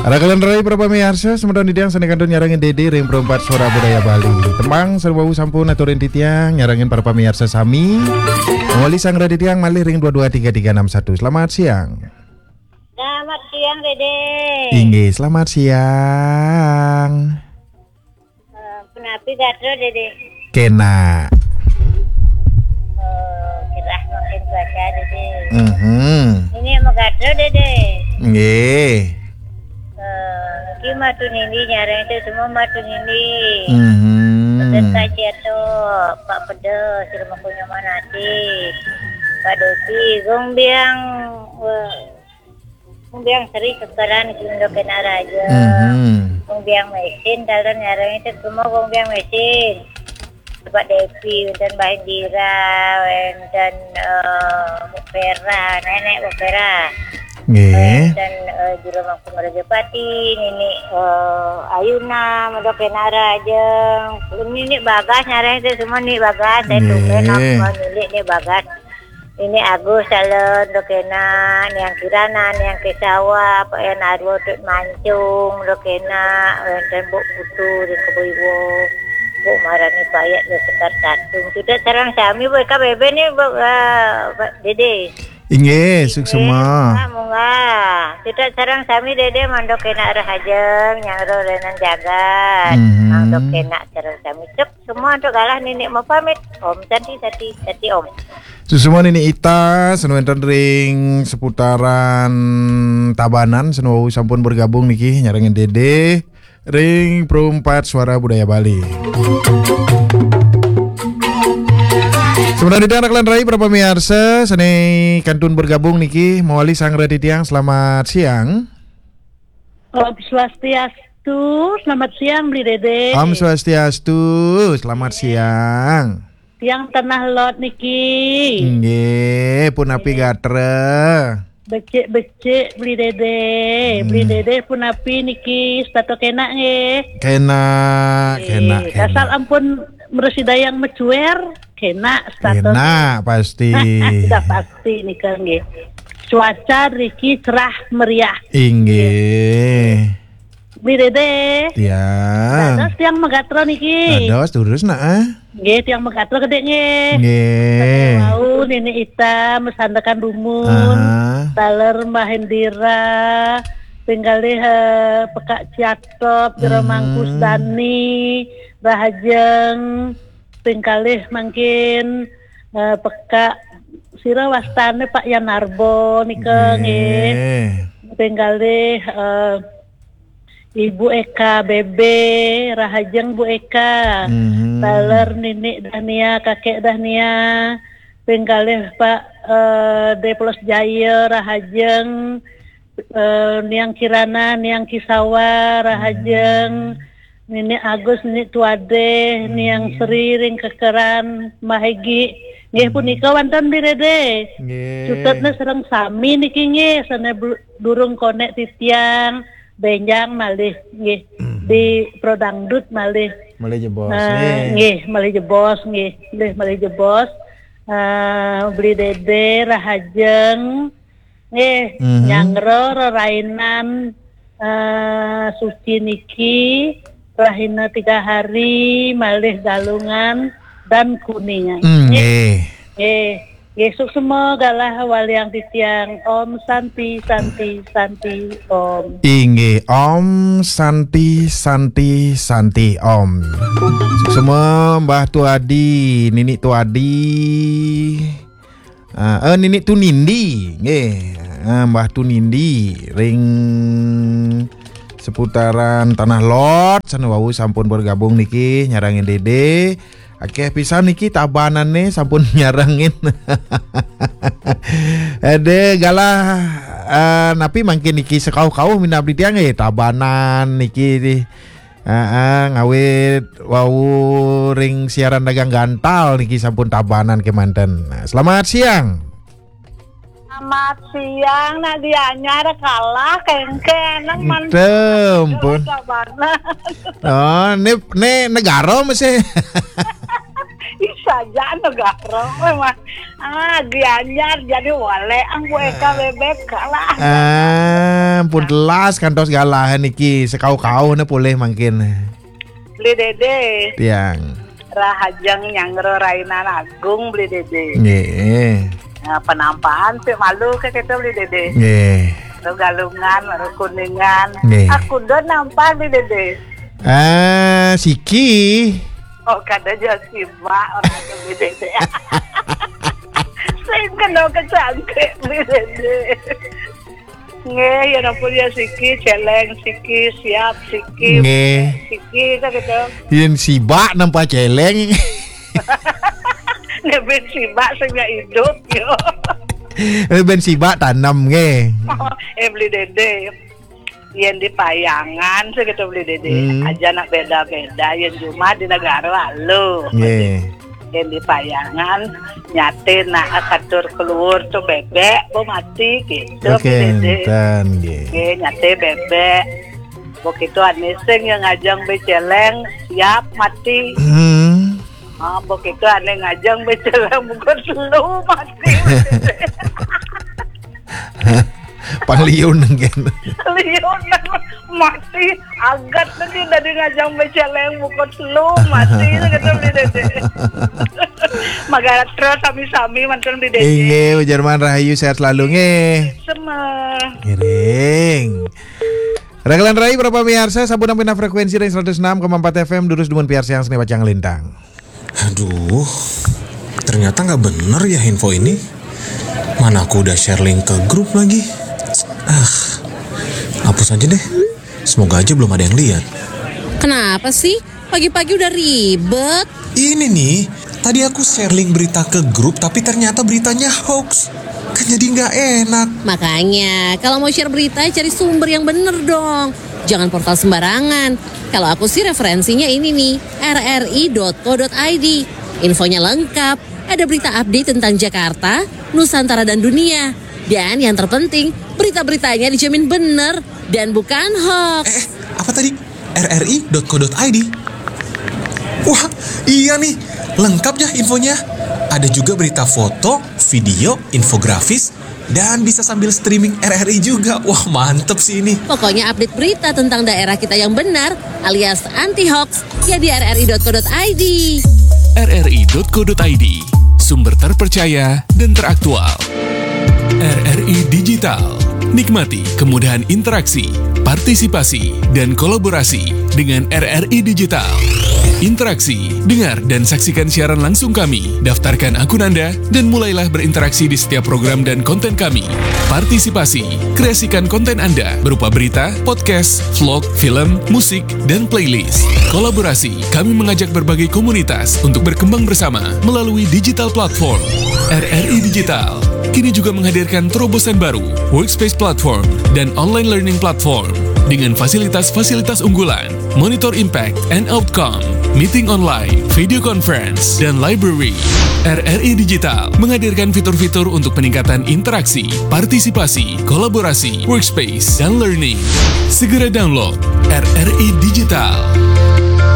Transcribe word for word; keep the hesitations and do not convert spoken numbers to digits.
Rakalan rai para pamiarsa, semeton titiang sane kantun nyarengin Dede ring Perumpat Suara Budaya Bali. Tembang sareng wau sampun aturin titiang nyarengin para pamiarsa sami. Mawali sanggra titiang malih ring dua dua tiga tiga enam satu. Selamat siang. Selamat siang, Dede. Inggih, selamat siang. Eh, punapi gatra, Dede? Kena. Oh, cerah mangkin cuaca, Dede. Mhm. Ini mau gatra, Dede? Nggih. Eh, iki matu nindi nyareng itu semua matu nindi. Mhm. Pedes kaji atau Pak Pedes, rumah punya mana sih? Pak Dopi, gong biang, eh, Gong biang seri kekeran kindo kena raja. Mhm. Gong biang mesin, dalam nyarang itu semua gong biang mesin. Bapak Depi, wenten Mbah Indira, wenten, eh, Bu Vera, nenek Bu Vera. Nggih. Wenten, eh, Jero Mangku Merajapati, nini, eh, Ayuna, Mendok Kena Rajeng. Nini Bagas, nyarang itu semua ni Bagas. Saya tumben aku milik ni Bagas. Ini Agus Salon, dok enak, Niang Kirana, Niang Kesawa, Pak Yan Arwo, Tut Mancung, dok enak, wenten Buk Putu, dan Kebo Iwo, Buk Marani Payat, dok Sekar Tatung. Sudah sarang sami, Bu, K B B ni, Bu, eh, Pak Dede. Inggih, suksema. Munggah, munggah. Sudah sarang sami, Dede, mandok enak rahajeng, nyang ro renan jagat. Mhm. Mandok enak sarang sami. Cuk, semua untuk galah nini mau pamit. Om Santi, Santi, Santi Om. Suksema Nini Ita, sane wenten ring seputaran Tabanan, sane wau sampun bergabung niki, nyarengin Dede ring Perumpat Suara Budaya Bali. Semeton titiang rakalan rai para pamiarsa, sane kantun bergabung niki, mawali sanggra titiang, selamat siang. Om Swastiastu, selamat siang, Bli Dede. Om Swastiastu, selamat siang. Tiang Tanah Lot niki. Nggih, punapi gatra? Becik-becik, Bli Dede. Bli Dede punapi niki, setata kena nggih? Kena, kena, kena. Asal ampun mresi dayang mecuer, kena setata. Kena, pasti. Sudah pasti nika nggih. Cuaca riki cerah meriah. Inggih. Bli Dede. Tiang. Dados tiang magatra niki. Dados, durus, nah, ah. Nggih, tiang magatra gedhe nggih. Nggih. Wau Nini Ita, Mesandekan Dumun, taler Mbah Indira, ping kalih, eh, Pekak Ciatop, Jero Mangkus Dani, Rahajeng, ping kalih mangkin, eh, Pekak sira wastane Pak Yan Arbo nika nggih. Nggih. Ping kalih, eh, Ibu Eka Bebe, rahajeng Bu Eka. Mhm. Taler Nini Dahnia, Kakek Dahnia. Ping kalih Pak, eh, Deplos Jaya, rahajeng. Eh, Niang Kirana, Niang Kisawa, rahajeng. Nini Agus, Nini Tuade, Niang Sri, ring kekeran, Mbah Egi. Nggih, punika wonten Bli Dede. Nggih. Cutetne sareng sami niki nggih, sane bel-, durung konek titiang, benjang malih nggih. Di Pro Dangdut malih. Malih jebos, eh, nggih. Nggih, malih jebos nggih. Nggih, malih jebos. Eh, Bli Dede, rahajeng. Nggih, nyanggra rerainan, eh, suci niki, rahina tiga hari, malih Galungan dan Kuningan. Mm, nggih. Nggih. Nggih, suksema galah waliang titiang. Om Santi, Santi, Santi, Om. Inggih, Om Santi, Santi, Santi, Om. Suksema Mbah Tuadi, Nini Tuadi. Ah, eh, Nini Tunindi, nggih. Ah, Mbah Tunindi ring seputaran Tanah Lot, sane wau sampun bergabung niki, nyarengin Dede. Akeh pisan niki Tabanane sampun nyarengin. Ade galah, eh, napi mangkin niki sekauh-kauh minab titiang nggih, Tabanan niki. Heeh, ngawit wau ring siaran dagang gantal niki sampun Tabanan kemanten. Nah, selamat siang. Selamat siang, nak Gianyar kalah kengken nang man. Ente, ampun. Tabanan. Oh, ni, ni negara mesti. Ih, Saja anu garo memang. Ah, Gianyar jadi wale ang bueka bebek kalah. Ah, pun telas kantos galahan niki sekau-kau na boleh mangkin. Beli Dede. Tiang. Rahajeng nyangro rainan agung Beli Dede. Nggih. Nah, penampahan sih malu ke kita Beli Dede. Nggih. Baru Galungan, baru Kuningan. Nggih. Aku udah nampah Beli Dede. Ah, siki. Oh, kada aja sibak orang tu Beli Dede. Sing kena kecangkrik Beli Dede. Nggih, ya ampun ya siki, celeng siki, siap siki, Nggih. Siki kan gitu. Yen sibak nampak celeng. Nggih, ben sibak sing ya hidup yo. Eh, ben sibak tanam nggih. Eh, Beli Dede. Yen di Payangan sih gitu Beli Dede. Hmm. Aja nak beda-beda, yen cuma di negara lalu. Nggih. Yen di Payangan nyate nak katur keluar tu bebek bo mati gitu. Oke, Beli Dede. Enten nggih. Nggih, nyate bebek. Begitu ane sing yang ngajang beceleng siap mati. Hmm. Ah, begitu ane ngajang beceleng bukan lu mati. Pangliun nggih. Liun mati agat nanti dari ngajang beceleng bukan lu mati gitu Beli Dede. Magara terus sami-sami mantan Beli Dede. Inggih, ujar man rahayu sehat selalu nggih. Semua. Ngiring. Ragalan Rai berapa miarsa sabun pina frekuensi dari seratus enam koma empat F M durus dumun piarsa yang seni bacang lintang. Aduh, ternyata nggak bener ya info ini. Mana aku udah share link ke grup lagi. Ah, hapus aja deh. Semoga aja belum ada yang lihat. Kenapa sih? Pagi-pagi udah ribet. Ini nih, tadi aku share link berita ke grup tapi ternyata beritanya hoax. Kan jadi nggak enak. Makanya, kalau mau share berita, cari sumber yang bener dong. Jangan portal sembarangan. Kalau aku sih referensinya ini nih, R R I dot co dot I D. Infonya lengkap, ada berita update tentang Jakarta, Nusantara dan dunia. Dan yang terpenting, berita-beritanya dijamin bener dan bukan hoax. Eh, eh, apa tadi? R R I dot co dot I D. Wah, iya nih, lengkap ya infonya. Ada juga berita foto, video, infografis, dan bisa sambil streaming R R I juga. Wah, mantep sih ini. Pokoknya update berita tentang daerah kita yang benar alias anti hoax ya di R R I dot co dot I D. R R I dot co dot I D, sumber terpercaya dan teraktual. R R I Digital. Nikmati kemudahan interaksi, partisipasi, dan kolaborasi dengan R R I Digital. Interaksi, dengar, dan saksikan siaran langsung kami. Daftarkan akun Anda dan mulailah berinteraksi di setiap program dan konten kami. Partisipasi, kreasikan konten Anda berupa berita, podcast, vlog, film, musik, dan playlist. Kolaborasi, kami mengajak berbagai komunitas untuk berkembang bersama melalui digital platform. R R I Digital kini juga menghadirkan terobosan baru, Workspace Platform dan Online Learning Platform dengan fasilitas-fasilitas unggulan, Monitor Impact and Outcome, Meeting Online, Video Conference, dan Library. R R I Digital menghadirkan fitur-fitur untuk peningkatan interaksi, partisipasi, kolaborasi, workspace, dan learning. Segera download R R I Digital.